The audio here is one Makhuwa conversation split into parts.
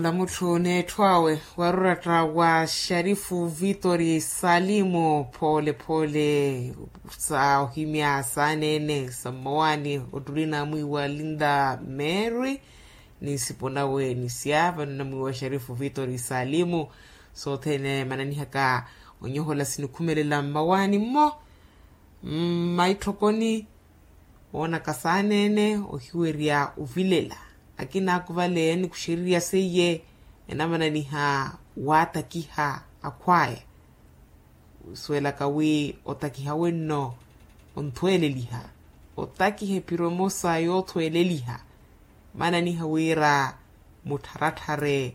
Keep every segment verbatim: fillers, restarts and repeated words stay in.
Tamutthu n'etthu awe, waruratta wa sharifu vitori salimu phoole phoole, sa ohimya saaneene sa mmawaani ottuli namwiiwa linda mary, ni nsipo nawe ni sya vano namwiiwa sharifu vitori salimu. Sothene mananihaka onyohola sinikhumelela mmawaani mmo, mmaitthokoni woonaka saaneene ohiwerya ovilela. Akina akuvale anikuxerirya seiye enamananiha waatakiha akhwaya. Wisuwelaka wi otakiha wenno onthweeleliha, otakiha ephiro emosa yoothweeleliha. Mananiha wira muttharatthare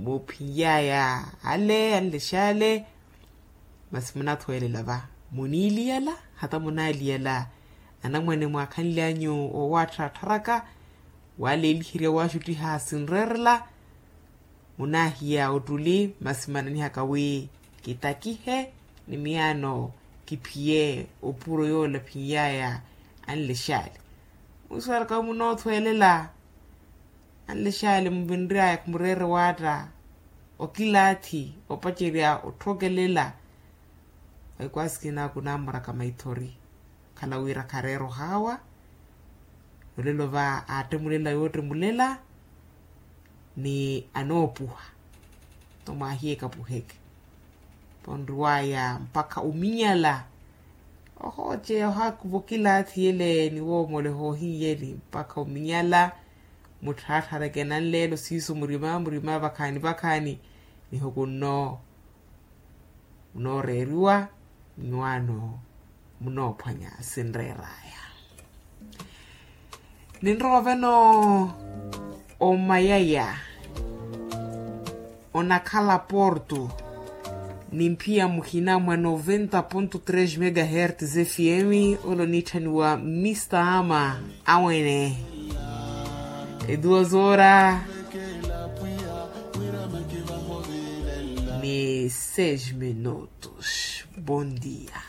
muphiyaya ale anlexale. Masi munathweelela va muniiliyala hata munaaliyala anamwane mwaakhanlyanyu owatthattharaka, waleeliherya waxuttiha sinreerela. Munaahiya ottuli masi mananihaka wi kitakihe ni miyaano kiphiye opuro yoola phiyaya anlexale. Mwiswalaka wi munoothweelela anlexale muvinryaya khumureere waatta okilaathi opacerya otthokelela. Vaikwasikina kunamoraka maithori khala wira khareera ohaawa. Olelo va aattemulela yoottemulela ni anoopuha. Nto mwaahiye ekapuheke ponriwaya mpakha ominyala. Ohooce ohaakuva okilaathi ele ni woomoleha ohiiyeli mpakha ominyala. Mutthaatthareke nanleelo siiso murima murima vakhaani vakhaani. Nihukunno munooreeriwa nwaano munoophwanya sinreeraya. Ninrowa vano omayaya onakhala porto ni mphiya muhina mwa noventa ponto tres megahertz fm. Ole oniitthaniwa mista ama awene eduas hora ni seis minutos. Bom dia.